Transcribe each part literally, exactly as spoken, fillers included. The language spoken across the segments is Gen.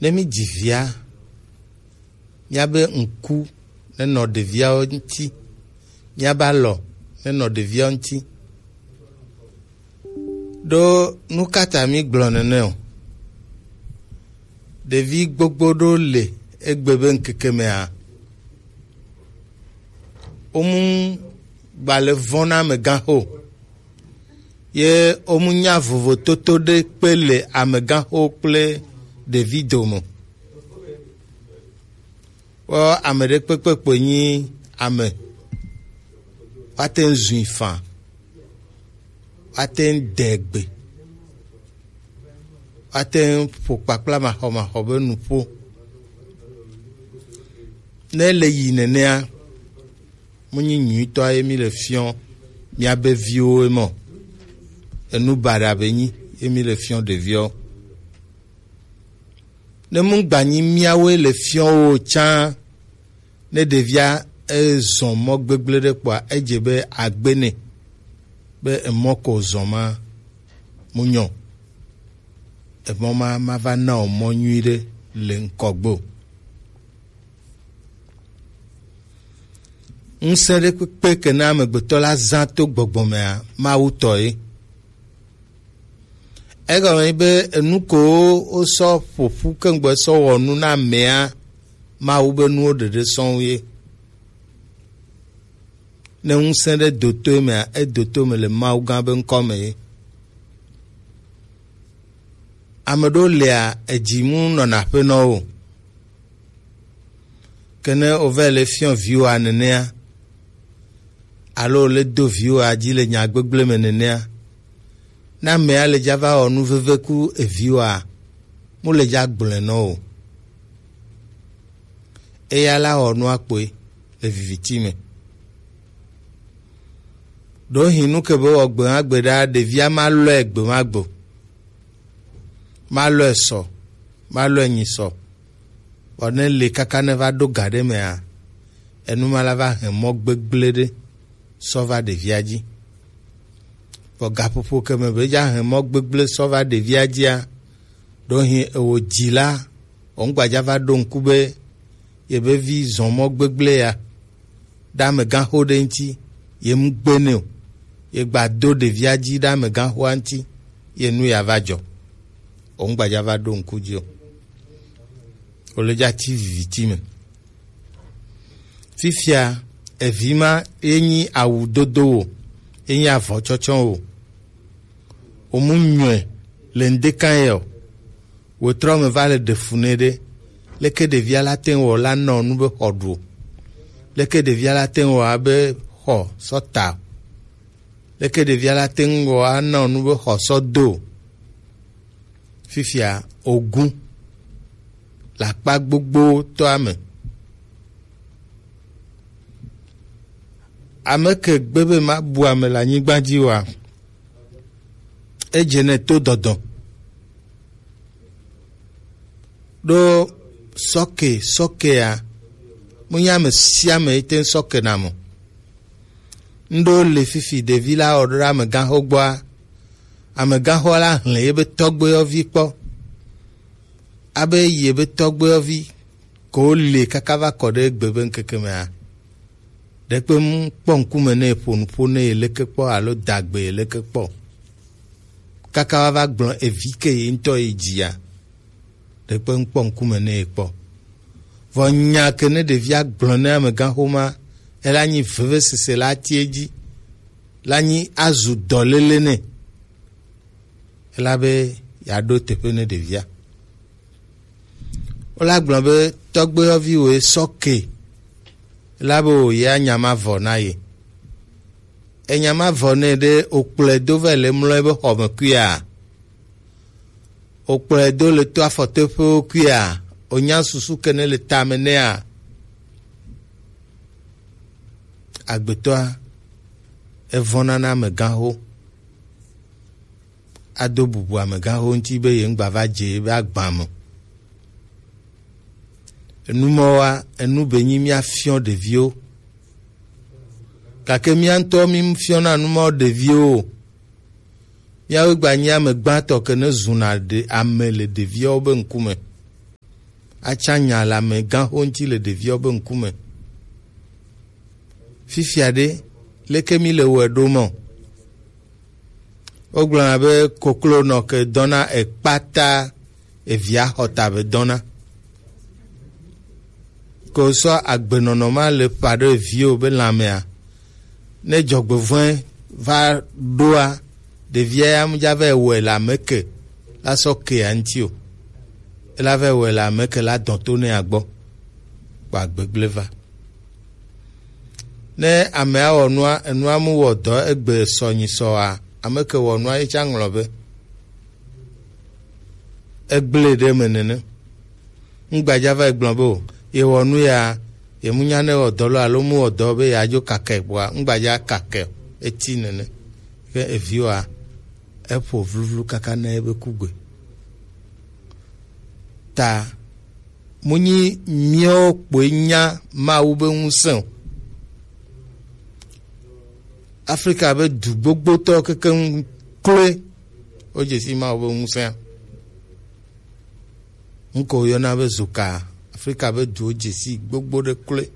Ne mi dzi via, miabe ŋku nenɔ ɖeviawo ŋuti, miabe alɔ nenɔ ɖeviawo ŋuti. Ɖo nu ka ta mi gblɔ nene o? Ɖevi gbogbo ɖo le egbe be ŋkeke mea, womu gbalẽ vɔ̃ na amegãxo, ye womu nya vovototo ɖe kpe le amegãxo kple ɖevi dome. Kpɔ ame ɖe kpekpe kpoe nyi ame. Woate ŋu zui faa. Woate ŋu de gbe. Woate ŋu ƒo kpakpla maxɔmaxɔ be nuƒo. Ne ele yi nenea, menyi nyuitɔa ye mi le fiɔ miabe viwo ye mɔ. Enu baɖa be nyi ye mi le fiɔ ɖeviwo. Ne mu gbanyi miawoe le fiɔwo tsã, ne ɖevia ezɔn mɔ gbegblẽ ɖe kpɔa, edze be agbe nɛ be emɔ ko zɔn ma mu nyɔ. Emɔ ma ma va na o mɔ nyui ɖe le ŋkɔgbe o. Ŋusẽ ɖe kpekpe ke na amegbetɔ la zã to gbɔgbɔ mea, Mawu tɔ ye. Egɔme be enu ko wosɔ ƒoƒu keŋgbɔ sɔ wɔ nu na amea, Mawu be nuwo ɖeɖe sɔŋ ye. Ne ŋusẽ ɖe do to emea, edo to me le Mawu gã be ŋkɔ me ye. Ame ɖewo lia, edzi mu nɔna aƒenɔwo. Ke ne wova le fiɔ viwoa nenea, alo le do viwoa dzi le nya gbegblẽ me nenea, ne amea le dza va wɔ nu veve ku eviwoa, mu le dza gblɔe nɔ o. Eya la wɔ nua kpoe le viviti me. Ɖewohĩ nu ke be wɔ gbe ma gbe ɖa, ɖevia ma lɔe gbe ma gbe o. Ma lɔe sɔ, ma lɔe nyi sɔ. Vɔ ne le kaka ne va ɖo ga ɖe mea, enu ma la va hɛn mɔ gbegblẽ ɖe sɔ va ɖevia dzi. Vɔ gaƒoƒo ke me be dza hɛn mɔ gbegblẽ sɔ va ɖevia dzia, ɖewohĩ ewo dzi la, wɔ ŋgbadza va ɖo ŋku be yebe vi zɔn mɔ gbegblẽ ya ɖe amegãxo ɖe ŋuti, ye mu gbe nɛ o, ye gba do ɖevia dzi ɖe amegãxoa ŋuti, ye nu ya va dzɔ. Wɔ ŋgbadza va ɖo ŋku dzi o. Wole dza ti viviti me. Fifia, evi ma ye nyi awu dodo wo, ye nyi avɔ tsɔtsɔ wo. Wo mu nyɔe le ŋdeka ye o. Wo trɔ me va le ɖe fu nɛ ɖe. Leke ɖevia la te ŋu wɔ la nɔ nu be xɔ ɖu o? Leke ɖevia la te ŋu wɔ abe xɔ sɔ ta o? Leke ɖevia la te ŋu wɔ anɔ nu be xɔ sɔ do o? Fifia ogun le akpa gbogbo tɔa me. Ame ke gbe be mabu ame le anyigba dzi oa, edze nɛ to dɔdɔ. Ɖo sɔke, sɔkea, mu nya ame sia ame yi te ŋu sɔke na mo. Ŋɖo le fifi ɖevi la wɔ ɖo ɖe amegãxo gbɔa, amegãxoa la hlẽ yebe tɔgbuiyɔvi kpɔ. Abe yebe tɔgbuiyɔvi ko le kaka va kɔ ɖe egbe be ŋkeke mea, ɖekpe mu kpɔ ŋkume ne eƒo nuƒo ne ye leke kpɔ alo dagbe ye leke kpɔ. Kaka wa va gblɔ evi ke ye ŋutɔ ye dzia, ɖekpe ŋkpɔ ŋkume nɛ kpɔ. Vɔ nya ke ne ɖevia gblɔ ne amegãxoma, ela nyi vevesese la tie dzi, la nyi azu dɔléle nɛ. Ela be yeaɖo teƒe ne ɖevia. Wola gblɔ be tɔgbuiyɔvi woe sɔ ke, ela be wòye anya ma vɔ na ye. Enya ma vɔ nɛ ɖe wòkplɔe do va le mlɔ ebe xɔ me kuia? Wokplɔe do le to afɔtoƒewo kuia? Wonya susu ke ne le tame nɛa? Agbetɔa, evɔ̃na na amegãxo. Ado bubu amegãxo ŋuti be ye ŋgba va dze ebe agba me. Enumɔwoa, enu be nyi míafiɔ ɖeviwo. Gake mía ŋutɔ mífiɔna numɔ ɖeviwo o. Míawoe gba nyi ame gbãtɔ ke ne zuna ɖe ame le ɖeviawo be ŋkume. atsa nya le amegãxo ŋuti le ɖeviwo be ŋkume. Fifia ɖe, leke mi le wɔe ɖo mɔ? Wogblɔna be koklo nɔ ke dɔna ekpata evia xɔta be dɔna. Ko sɔ agbenɔnɔ ma le ƒa ɖe eviwo be lãmea, ne dzɔgbevɔ̃e va ɖoa, ɖevia ya mu dza va wɔe le ame ke la sɔ kea ŋuti o. Ela va wɔe le ame ke la dɔn to nɛ agbɔ. Kpa gbegblẽ va. Ne amea wɔ nua, enua mu wɔ dɔ egbe sɔ nyi sɔa, ame ke wɔ nua ye tsa ŋlɔ be egblẽ ɖe me nene. Ŋgbadza va gblɔ be o, ye wɔ nu ya, ye mu nya ne wɔ dɔ lo alo mu wɔ dɔ be ya dzo kakɛ bua, ŋgbadza kakɛ o, eti nene. Ke eviwoa, eƒo vluvlu kaka ne ebe kugbe. Ta mu nyi míawo kpoe nya Mawu be ŋusẽ o. Afrika be du gbogbotɔ kekeŋ kloe wodze si Mawu be ŋusẽa. Ŋkɔ woyɔna be zoka. Afrika be duwo dze si gbogbo ɖe kloe.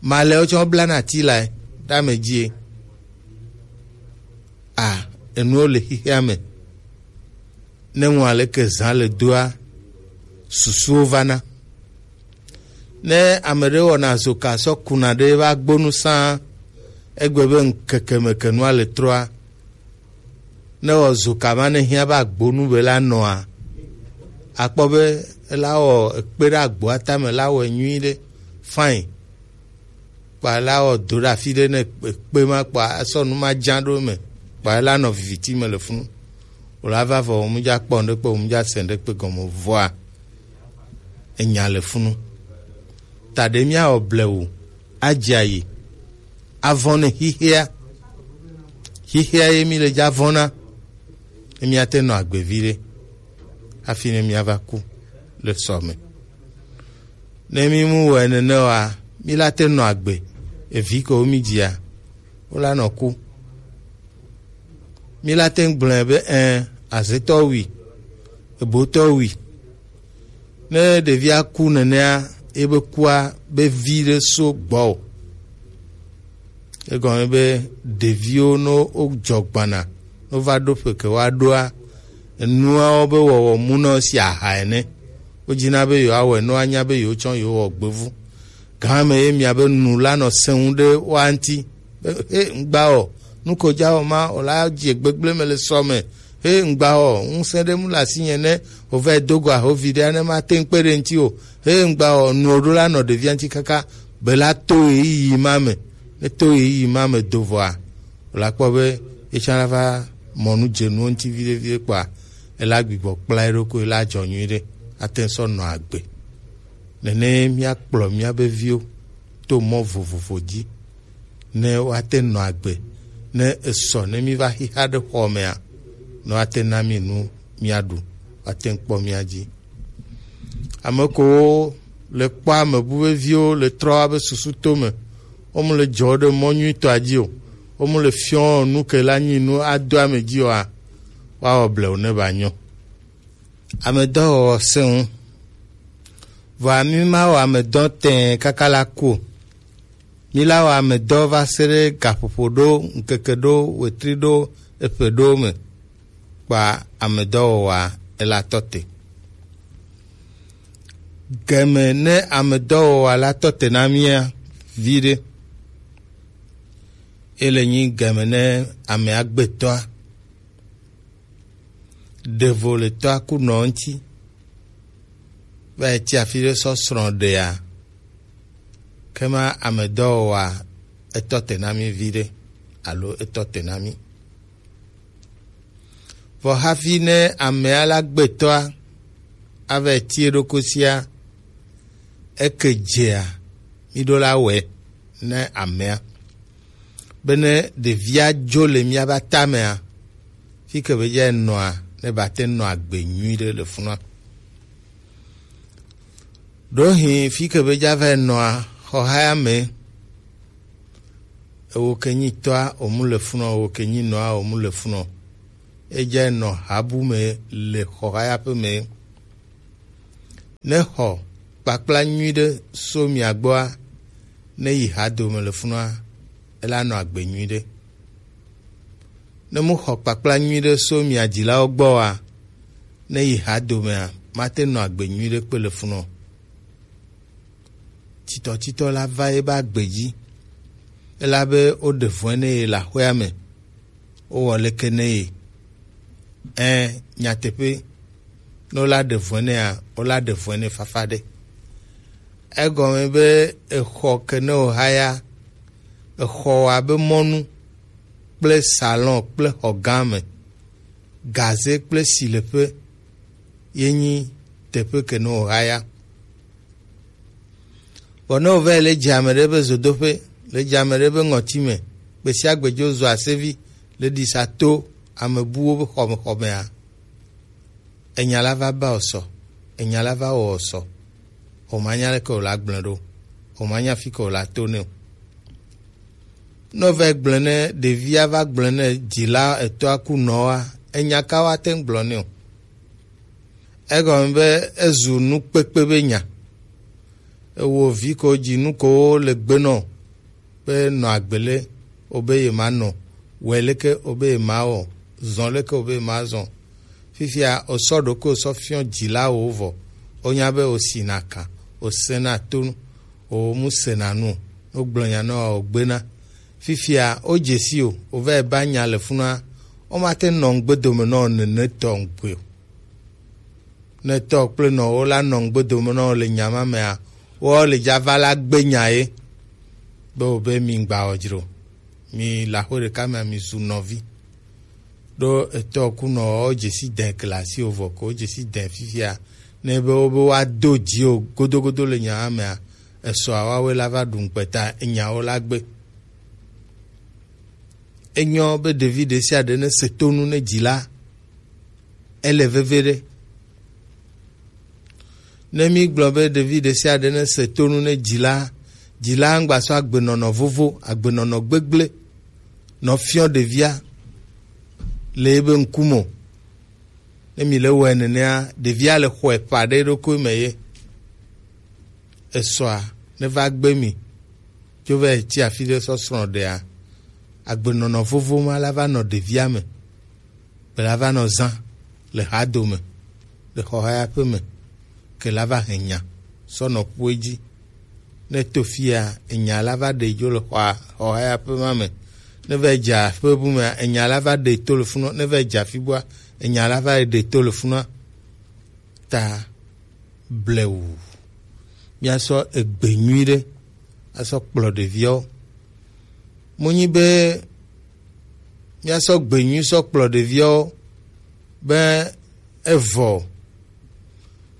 Malɛwo tsɛ woblana ati lae ɖe ame dzie. A, enuwo le xixea me. Ne ŋu aleke zã le doa, susuwo vana. Ne ame ɖe wɔna zoka sɔ kuna ɖe eƒe agbonu sã, egbe be ŋkeke me ke nua le trɔa, ne wɔ zoka ma ne hiã be agbonu be la nɔa, akpɔ be ela wɔ ekpe ɖe agboa tame la wɔe nyuiɖe, fine. Kpa la wɔ do ɖe afi ɖe ne kpe ma kpa esɔ nu ma dza ɖo me kpa la nɔ viviti me le funu. Wòla va vɔ wòmu dza kpɔ ŋɖe kpe wòmu dza se ŋɖe kpe gɔme vɔa enya le funu. Ta ɖe míawɔ blewu adze ayi avɔ̃ ne xixea. Xixea ye mi le dza vɔ̃na ne míate nɔ agbe vi ɖe hafi ne míava ku le sɔ me. Ne mí mu wɔe nene oa, mí la te nɔ agbe. Evi ko mí dzia, wo la nɔ ku. Mí la te ŋu gblɔe be ɛ, azetɔ wui, ebotɔ wui. Ne ɖevia ku nenea, ebe kua be vi ɖe so gbɔ o. Egɔme be ɖeviwo no wo dzɔ gbana, no va ɖo ƒe ke woaɖoa, enuawo be wɔwɔ mu na wo si aha ene. Wodzina be yewoawɔe ne woanya be yewotsɔ yewowɔ gbevu. Gã me ye mia be nu la nɔ sẽŋu ɖe woa ŋuti. Be, he, ŋgba o, nu ko dza wɔ ma, o la dze gbegblẽ me le sɔ me. He, ŋgba o, ŋusẽ ɖe mu le asinye ne wòva do go ahovi ɖea, ne mate ŋu kpe ɖe ŋuti o. He, ŋgba o, nuwo ɖo la nɔ ɖevia ŋuti kaka be la to ɣeyiɣi ma me. Ne to ɣeyiɣi ma me do vɔa, wòla kpɔ be etsã la va mɔ nu dze nuwo ŋuti viɖe viɖe kpɔa, ela gbigbɔ kpla eɖokui, ela dzɔ nyuiɖe, ate ŋu sɔ nɔ agbe. Nene míakplɔ míabe viwo to mɔ vovovo dzi, ne woate nɔ agbe, ne esɔ ne míva xixa ɖe xɔ mea, ne woate na mí nu míaɖu, woate ŋu kpɔ mía dzi. Ame kowo le kpɔ ame bu be viwo le trɔ abe susu to me, wo mu le dzɔ ɖe mɔ nyuitɔa dzi o, wo mu le fiɔ nu ke la nyi nu ado ame dzi oa, woawɔ blewu ne ba nyɔ. Amedɔwɔwɔ sẽ ŋu. Vɔa mí ma wɔ amedɔ tɛɛ kaka la ku o. Mí la wɔ amedɔ va se ɖe gaƒoƒo ɖo, ŋkeke ɖo, wetri ɖo, eƒe ɖo me. Kpa amedɔwɔwɔa ela tɔ te. Game ne amedɔwɔwɔa la tɔ te na mía viɖe. Ele nyi game ne amea gbetɔa. Ɖevo le tɔa ku nɔ ŋuti. Va yi tsi afi ɖe sɔ srɔ̃ ɖea. Ke ma amedɔwɔwɔa etɔ te na mí viɖe alo etɔ te na mí. Vɔ hafi ne amea la gbetɔa ava yi ti eɖokui sia, eke dzea, mí ɖo la wɔe ne amea. Bene ɖevia dzo le míabe atamea, fi ke be dza nɔa, ne ba te nɔ agbe nyui ɖe le funua. Ɖohi fi ke be dza va nɔa, xɔhaya me, ewo ke nyi tɔa, omu le funɔ, ewo ke nyi nɔa, omu le funɔ. Edza nɔ habu me le xɔhaya ƒe me. Ne xɔ kpakpla nyuiɖe so mia gbɔa, ne yi hadome le funua, ela nɔ agbe nyuiɖe. Ne mu xɔ kpakpla nyuiɖe so mia dzilawo gbɔa, ne yi hadomea, mate nɔ agbe nyuiɖe kpe le funɔ. Titɔtitɔ la va ebe agbe dzi, elabe woɖe vɔ̃e ne ye le aƒea me, wowɔ leke ne ye. Ẽ, nyateƒe, ne wola ɖe vɔ̃e nea, wola ɖe vɔ̃e ne fafa ɖe. Egɔme be exɔ ke ne wòhaya, exɔ abe mɔnu kple salon kple xɔ gã me, gaze kple sileƒe ye nyi teƒe ke ne wòhaya. Vɔ ne wòva yi le dze ame ɖe be zodoƒe, le dze ame ɖe be ŋɔti me, gbe sia gbe dzo zu asevi le ɖisa to ame buwo be xɔmexɔmea, enya la va ba wò sɔ, enya la va wɔ wò sɔ, wòmanya leke wòla gblẽ ɖo, wòmanya fi ke wòla to nɛ o. Ne wòva gblẽ ne ɖevia va gblẽ ne dzila etɔa ku nɔa, enya ka woate ŋu gblɔ nɛ o? Egɔme be ezu nukpekpe be nya. Ewò vi ko dzi nu ko le gbe nɔ be nɔ agbele, wobe yemanɔ, wɛ leke wobe yemawɔ, zɔn leke wobe yemazɔn. Fifia osɔ ɖokui osɔ fiɔ dzila wo vɔ. Wonya be osina kan, osena tonu, omu sena nu, wogblɔ nya nɔ ogbena. Fifia wodze si o, wova yi ba nya le funua, womate nɔ ŋgbe dome nɔ nene tɔ ŋgbe o. Ne tɔ kple nɔwo la nɔ ŋgbe dome nɔ le nya ma mea, woawo le dza va la gbe nya ye be wobe mi ŋgba wɔ dzro, mi le aƒe ɖeka mea, mi zu nɔvi. Ɖo etɔ ku nɔwo dze si dɛ glasi o vɔ ko dze si dɛ fifia, ne be wobe woado dzi o godogodo le nya ma mea, esɔa woawoe la va ɖu ŋkpeta enyawo la gbe. Enyɔ be ɖevi ɖe sia ɖe ne se tonu ne dzila, ele veve ɖe. Ne mi gblɔ be ɖevi ɖe sia ɖe ne se tonu ne dzila, dzila ŋgba sɔ agbenɔnɔ vovo, agbenɔnɔ gbegble nɔ fiɔ ɖevia le ebe ŋkume o. Ne mi le wɔe nenea, ɖevia le xɔe ƒa ɖe eɖokui me ye. Esɔa ne va gbe mi, tso va yi tsi afi ɖe sɔ srɔ̃ ɖea, agbenɔnɔ vovo ma la va nɔ ɖevia me, be la va nɔ zã le hadome, le xɔhayaƒe me, ke la va hɛn nya sɔ nɔ ƒue dzi. Ne to fia, enya la va ɖe dzo le xɔa xɔhayaƒe ma me. Ne va dze aƒe bu mea, enya la va ɖe to le funɔ. Ne va dze afi bua, enya la va ɖe to le funɔ. Ta blewu. Míasɔ egbe nyui ɖe asɔ kplɔ ɖeviawo. Monyi be míasɔ gbe nyui sɔ kplɔ ɖeviawo be evɔ.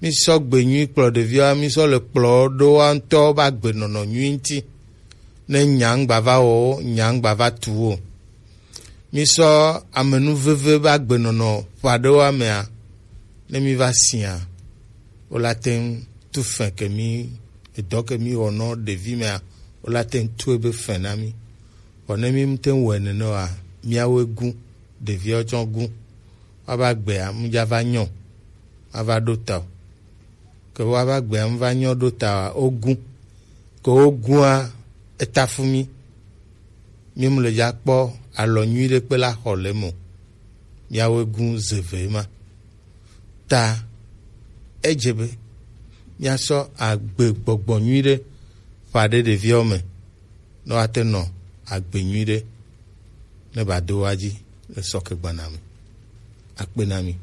Mísɔ gbe nyui kplɔ ɖeviawo, mísɔ le kplɔ ɖo wa ŋutɔ be agbenɔnɔ nyui ŋuti. Ne nya ŋgba va wɔ wo, nya ŋgba va tu wo. Mísɔ amenuveve be agbenɔnɔ ƒe aɖewo amea, ne míva sia, wola te ŋu tu fɛ ke mí, edɔ ke mí wɔ nɔ ɖevi mea, wola te ŋu tue be fɛ na mí. Vɔ ne mí mte ŋu wɔe nene oa, míawoe gũ, ɖeviawo tsɔ gũ. Woava gbea, mudza va nyɔ, ava ɖo ta o. Ke woava gbea, muva nyɔ ɖo ta oa, wogũ. Ke wogũa, eta fu mí. Mí mu le dza kpɔ alɔ nyui ɖe kpe la xɔ le mo. Míawoe gũ ze ve ma. Ta edze be míasɔ agbe gbɔgbɔ nyui ɖe ƒa ɖe ɖeviawo me, ne woate nɔ agbe nyui ɖe ne ba do wa dzi le sɔke gbana me. Akpe na mi.